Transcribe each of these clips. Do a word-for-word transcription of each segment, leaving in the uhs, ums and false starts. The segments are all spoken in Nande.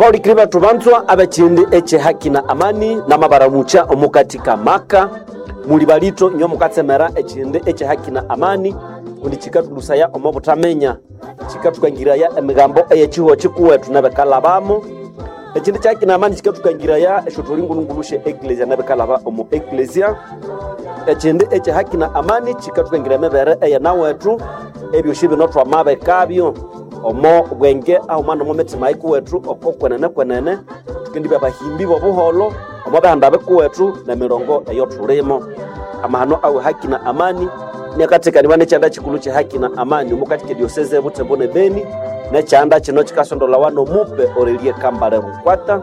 Baulikiri bethu banzwa abekindi eche haki na amani namabaramucha omukati kamaka muli balito inyo mukatsemera ekindi eche haki na amani kundi chikatulusaya omo butamenya chikatukangiraya emigambo eyechihuo chikuwetu nebekalabamo ekindi kya haki na amani chikatukangiraya esyo tuli ngulungulushe eklesia nebekalaba omu eklesia ekindi ekye haki na amani chikatukangira emibere eyenawethu ebyosi bino twamabekabyo omo bwenge ahuma nomo mitima ikuwethu oko kwenene kwenene tukendibya bahimbi bobuholo omo bihanda bikuwethu nemirongo eyo thulimo amahano awe haki na amani niakathekanibwa nekyanda kikulu kye haki na amani omukatika edioseze ebutembo ne beni nekyanda kino kikasondolawa nomupe Aurelie Kambale Rukwata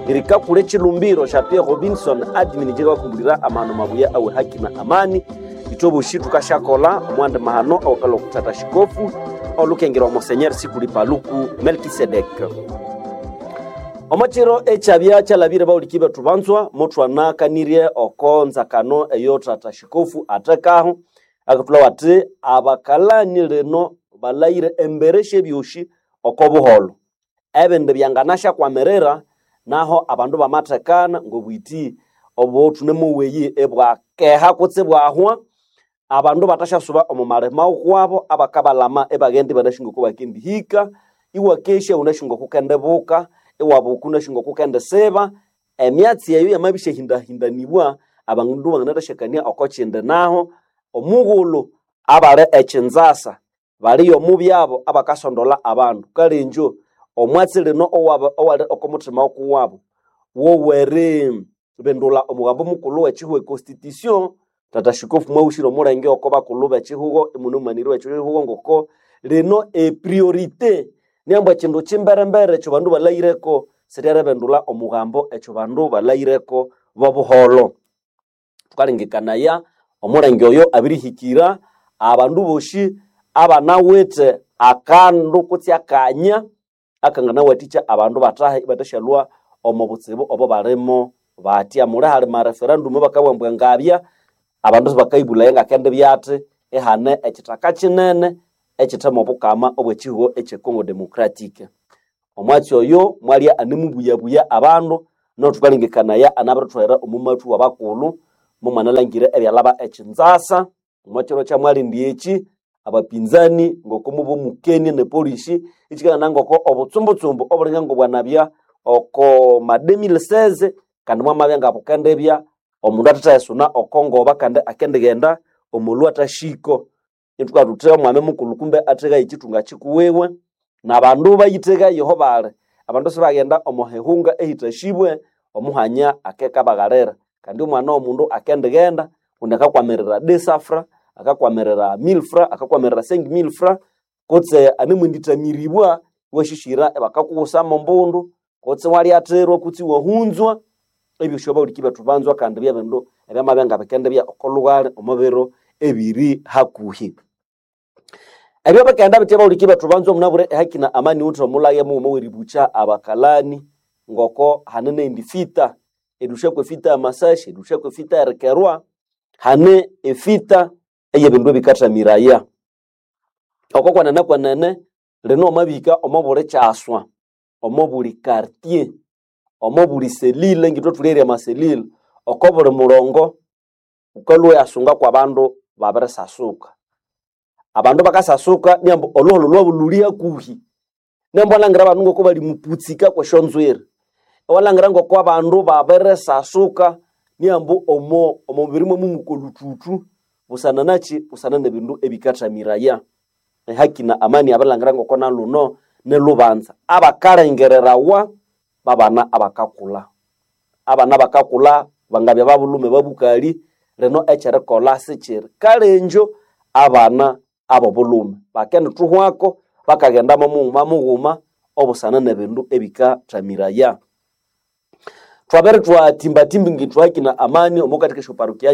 irikakula ekilumbiro sya Pierre Robinson admin jikabakumbulira amahano mabuya awe haki na amani ithwe tukashakola omwandi mahano awakala okutata shikofu olukengerwa Monseigneur Sikuli Paluku Melkisedek omokiro ekyabya kyalabire bawuliki bethu banzwa muthwanakanirye oko nzakano eyo tata shikofu athekaho akatulhawa athi abakalani lino balayire embere syebyosi oko buholo ebindi byanganashyakwamirira naho abandu bamathekana ngobwiti obo thunemuweyi ebwakeha kutse bwahwa abandu batasyasuba omu malima kwabo abakabalama ibaghenda ibanasi ngoko bakendihika iwakesya wunasi ngokukendibuka iwabuka wunasi ngokukendisiba emyatsi eyo yamabisyahindahindanibwa abandu banganathasyakania oko kindi naho omughulhu abali ekinzasa baliyo omubyabo abakasondola abandu kale injo omwatsi lino owaba owali oko muthima okuwabo woweribindula omugambo mukulhu w'ekihugo econstitution tata shikofu mwawushire omulenge oko bakulhu b'ekihugo imunemumaniri w'ekihugo ngoko lino epriorite niambu ekindu kimberembere ekyo bandu balayireko siryeribindula omugambo ekyo bandu balayireko bobuholo thukalengekanaya omulenge oyo abirihikira abandu bosi abanawithe akandu kutse akanya akanganawathikya abandu bathahe ibathasyalhwa omo butsibu obo balimo batya muli hali mareferendum bakabugha ngabya abandu sibakayibulaya ngakendibya athi ihane ekithaka kinene ekithemu obukama obw'ekihugo ekye Congo Democratic omwatsi oyo mwalya anemubuyabuya abandu no thukalengekanaya anabirithwera omu mathu wabakulhu mumwanalangire ebyalaba ekinzasa omwakiro kyamwalindi eki abapinzani ngoko mubomukenie ne polisi ikikanana ngoko obutsumbutsumbu obulinga ngobwanabya oko ma deux mille seize kandi mwamabya ngabukendibya omundu athathayisuna oko ngoba kandi akendighenda omulhu athashiko ithukabugha thuthi omwami mukulhu kumbe atheghaye ekithunga kikuwiwe nabandu bayitheghayeho bali abandu sibaghenda omo hihunga ehithashibwe omuhanya akekabaghalira kandi omwana w'omundu akendighenda kundi akakwamirira deux cents francs akakwamirira mille francs akakwamirira cinq mille francs kutse anemwendithamiribwa iwashishira ibakakughusamo ombundu kutse iwalyathirwa kutse iwahunzwa ebyosi abawuliki bethu banzwa kandi byebindu ebyamabya ngabikendibya oko lhughali omo biro ebiri hakuhi ebyo bikaghenda bitya abawuliki bethu banzwa munabwire ehaki na amani wuthe omulage mughuma ow'eribukya abakalani ngoko hane nendi fita erilhusyaku efita y'amasasi erilhusyaku efita y'erikerwa hane efita ey'ebindu ebikathamiraya oko kwenene kwenene lino wamabihika omo buli kyaswa omo buli quartier omo buli selile ngithwe thulere amaselile oko buli mulongo wukalhwa iwasunga kwabandu babirisasuka abandu bakasasuka niambu olhuholho lwabu lhuli hakuhi niambu iwalhangira abandu ngoko bali muputsika kwesyonzwiri iwalhangira ngoko abandu babirisasuka niambu omo omubiri mwamumuka olhuthuthu busana nakyi busana nebindu ebikathamiraya ehaki na amani abirilhangira ngoko nalhuno nilhubanza abakalengererawa babana abakakulha abana bakakulha bangabya babulhume babukali lino ekyerikolha sikyiri kale injo abana abobulhume bakendithuhwako bakaghenda mughuma mughuma obusana nebindu ebikathamiraya thwabere thwatimbatimba ngithwe haki na amani omukathika esyoparokia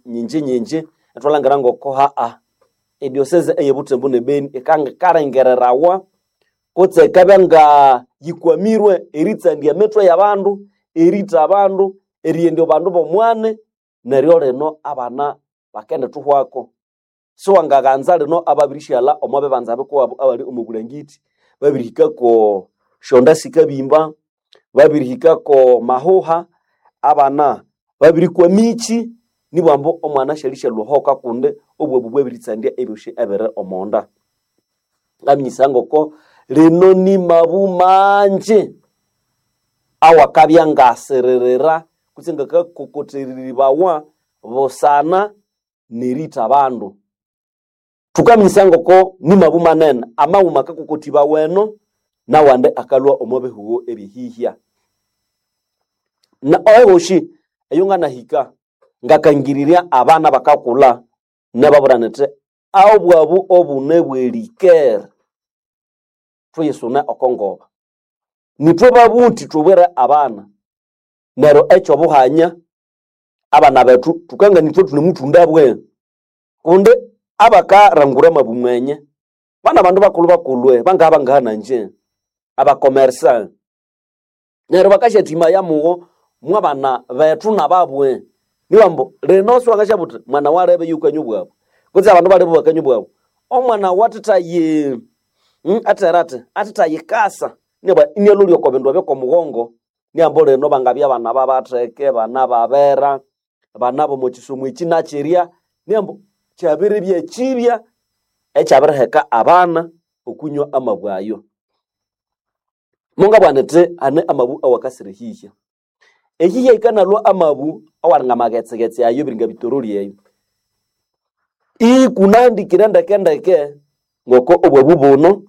nyinji nyinji ithwalhangira ngoko haa ediosese eyebuthembu nebeni ikangalengererawa kutse ikabya nga yikwamirwe eritsandya emithwe y'abandu eritha abandu eriyendya abandu b'omwani neryo lino abana bakendithuhwako siwangaghanza lino ababirisyalha omo bibanza bikuwabo abali omo bulangiti babirihikako syonda sikabimba babirihikako mahuha abana babirikwa michi nibwambo omwana syalisya lhuhoka kundi obwabu bwabiritsandya ebyosi ebiri omonda. Ngaminyisa ngoko lino ni mabu manji awakabya ngasiririra kutse ngakakokotereribawa busana neritha abandu. Thukaminyisa ngoko ni mabu manene amaghuma akakokotibawa eno nawandi akalhwa omo bihugho ebyehihya. Na ehoshi eyo nganahika ngakangirirya abana bakakulha nababwira nyithi obwabu obune bwerikere thuyisune oko ngoba. Nithwe babuthi thubwire abana neryo ekyobuhanya abana bethu thukangana ithwe thunemuthunda bwe kundi abakarangura amabu mwenye bana bandu bakulhu bakulhu bangaha bangaha nanje abakomersa neryo bakasyathimaya mugho mwabana bethu nababwe niwambu lino siwangasyabuwa uthi mwana walebe yukanywa obwabu kutse abandu balebe bakanywa obwabu omwana wathithayi mm, athera athi athithayikasa niba inialholya oko bindu ebyo kwomughongo niambu lino bangabya abana babatheke bana babera bana bomo kisomo eki nakyirya niambu kyabiribya ekyibya ekyabiriheka abana okunywa amabu ayo. Mungabugha nithi hane amabu awakasira ehihya. Ehihya yikanalhwa amabu awalinga amaghetsegetse ayo ebiringa bitoroli eyo. Ikunahandikire ndekendeke ngoko obwabu buno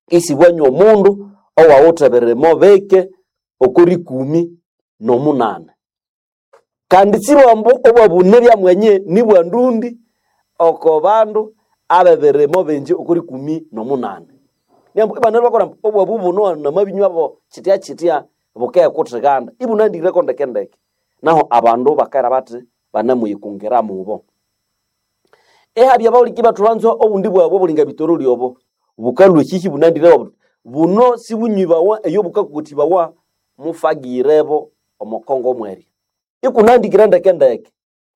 isibwanywa omundu owawithe ebirimo bike oko rikumi nomunane. Kandi sibambu obwabu nibya mwenye nibwa ndundi oko bandu abebirimo bingi oko rikumi nomunane. Niambu ibanalwa bakolha ambu obwabu buno namabinywa kyitya kyitya bukekuthiganda ibunahandikireko ndekendeke. Naho abandu bakera bathi banemuyikungiramubo. Ihabya abawuliki bathubanzwa obundi bwabu obulinga bitoroli obo bukalhwa ehihya ibunahandikireko buthi buno sibunywibawa eyo bukakokothibawa mufagirebo omo Kongo mwerya. Ikunahandikire ndekendeke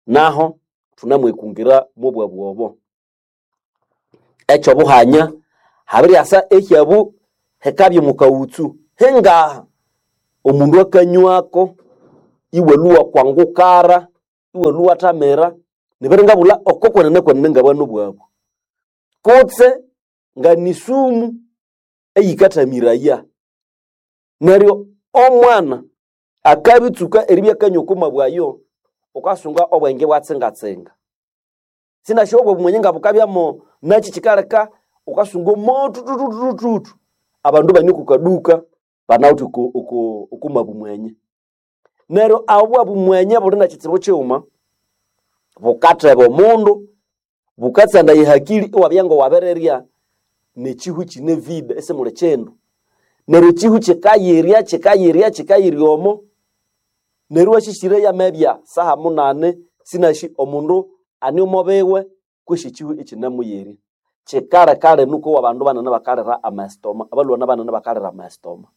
naho thunemwikungira mobwabu obo. Ekyobuhanya habiryasa ehyabu hikabya omukaghutsu hingaha omundu akanywako iwalhuwa kwangukara iwalhuwa iwathamira nibiringabulha oko kwenene kwenene ngabana obwabu kutse nganisumu eyikathamiraya. Neryo omwana akabitsuka eribya akanywa oko mabu ayo wukasunga obwenge ibwatsingatsinga. Sinasi obwabu mwenye ngabukabyamu nakyi kyikaleka wukasunga omothuthuthuthuthu abandu ibane oko kaduka banawithe oko oko oko mabu mwenye. Neryo obwabu mwenye buli nekyitsibu kyighuma bukatheba omundu, bukatsandaya ehakili iwabya ngowabirirya nekyihu kyine vide isimuli kyindu. Neryo ekyihu kyikayirya kyikayirya kyikayirya omo neryo iwasyisyira yamabya saha munani sinasi omundu ane omo biwe kwesi ekyihu ikyinemuyirya. Kyikaleka linu kowa abandu banene bakalira amastoma abalhwana banene bakalira amastoma.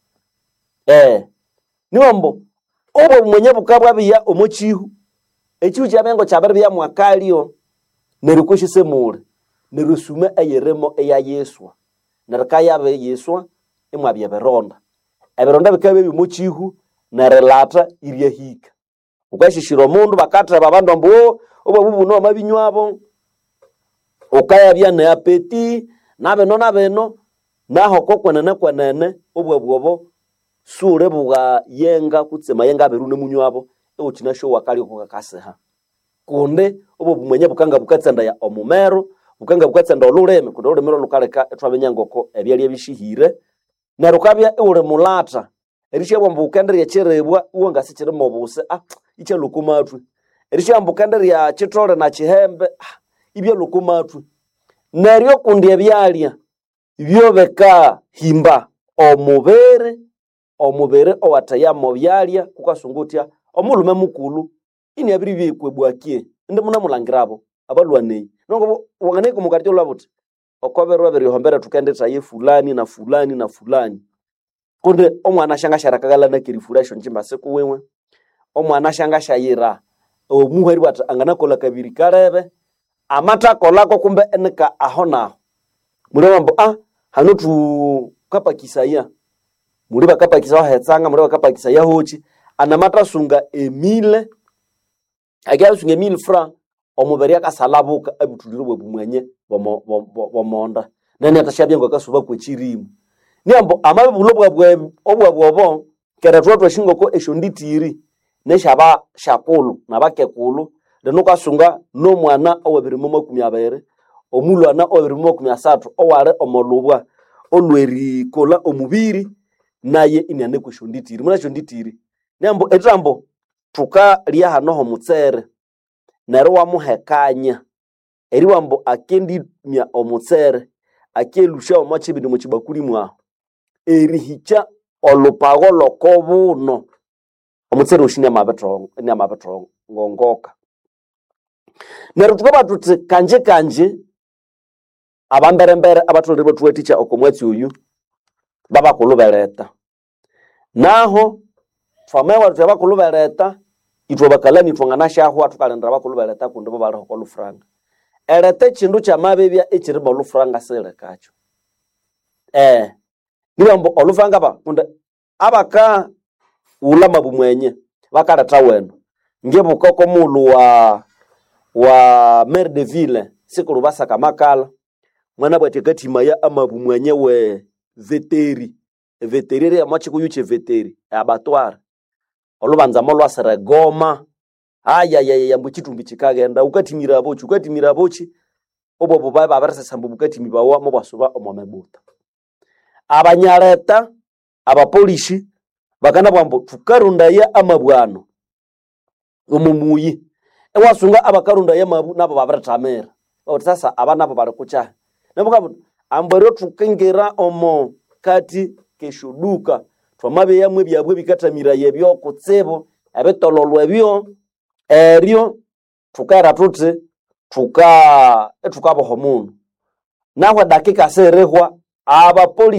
Eh, niwambu obwabu mwenye bukabwabihya omo kyihu ekyihu kyabya ngokyabiribya mwakalyo neryo kwesi simuli neryo esuma eyirimo iyayiswa neryo kayabiyiswa imwabya ebironda. Ebironda bikabya byomo kyihu nerilhatha iryahika. Wukasyisyira omundu bakatheba abandu ambu oo obwabu buno wamabinywabo wukayabya ne apeti nabino nabino naho oko kwenene kwenene obwabu obo siwulibugha yenga kutse amayenga abiri iwunemunywabo iwukyinasyowa akalyo kukakasiha. Kundi obwabu mwenye bukanga bukatsandaya omumeru, bukanga bukatsandaya olhulimi kundi olhulimi lhwalukaleka ithwaminya ngoko ebyalya bisihire neryo wukabya iwuli mulhatha erisyabugha ambu wukendirya ekyiribwa iwangasi kyirimo obusi ah ikyalhwa oko mathwe. Erisyabugha ambu wukendirya kyithole na kyihembe ah ibyalhwa oko mathwe. Neryo kundi ebyalya byobikahimba omubiri, omubiri owatheya mobyalya wukasunga wuthya omulhume mukulhu iniabiribya ekwebwakye indi munemulhangirabo abalhwana eyi. Nongobo wanganahika omo kartye iwalhwa buthi oko biro ebiri oho thukendithaya fulani na fulani na fulani. Kundi omwana syangasyaleka nakerifura esyongyimba sikuwiwe, omwana syangasyayira omuhwa eribugha athi anganakolha kabiri kalebe, amathakolhako kumbe inika aho naho. Mulhwambu ah hano thukapakisaya Muli bakapakisa hetsanga, muli bakapakisa yahochi, anamatasunga emile, akiasunga emile francs, omubiri akasalabuka abutulire bwebumwenye bomo- bo- bo- bomonda. Nene atashabya akasuba kwechirimu. Niambo amabibulo bwabwe obwabwobo kera thwa twashingoko esyo nditiri nesyaba syakulu nabakekulu lino ukasunga nomwana owebiri mu makumi abiri omulwana owebiri mu makumi asathu owali omolubwa olwerikolha omubiri naye iniane kwesyo nditiri muna esyo nditiri niambo ethambo thukalya hano homutsere neryo iwamuhekanya eriwambu akendimya omutsere akelusya omo kibindi omo kibakuli mwahu erihikya olhupago lw'okobuno omutsere osi inamabithongongoka. Neryo thukabugha thuthi kanji kanji abamberembere abatholere ibathuwathikya oko mwatsi oyu babakulhu beletha. Naho thwamabugha thuthi abakulhu beletha ithwe abakalani thwanganasyahwa thukalindira abakulhu beletha kundi bo baliho oko lhufuranga. Eletha ekyindu kyamabibya ekyiri mo lhufuranga siyilikakyo. Eh, nibughambu ambu olhufuranga ba kundi abakaghulha amabu mwenye bakaletha wenu. Ngibuka oko mughulhu wa wa maire de ville sikulhu basaka amakala mwanabugha athi akathimaya amabu mwenye we veteri. Eveteri erya omo kikuyu kye veteri abatware. Olhubanza molhwasira egoma ayayaya ambu ekyithumbi kyikaghenda wukathimira aboki wukathimira aboki obwo bubaye babirisesa ambu bukathimibawa mubwasuba omo mibuta. Abanyaleta abapolishi bakanabugha ambu thukarondaya amabu ano omo muyi iwasunga abakarondaya amabu nabo babirithamira babuthi sasa aba nabo bali kukyahi nabughambu ambu eryo thukingira omo kati kesyoduka thwamabyamu ebyabu ebikathamiraya ebyo kutsibu ebitololwa ebyo eryo thukera thuthi thuka ithukaboha omundu nahu edakika sirihwa abapolisi.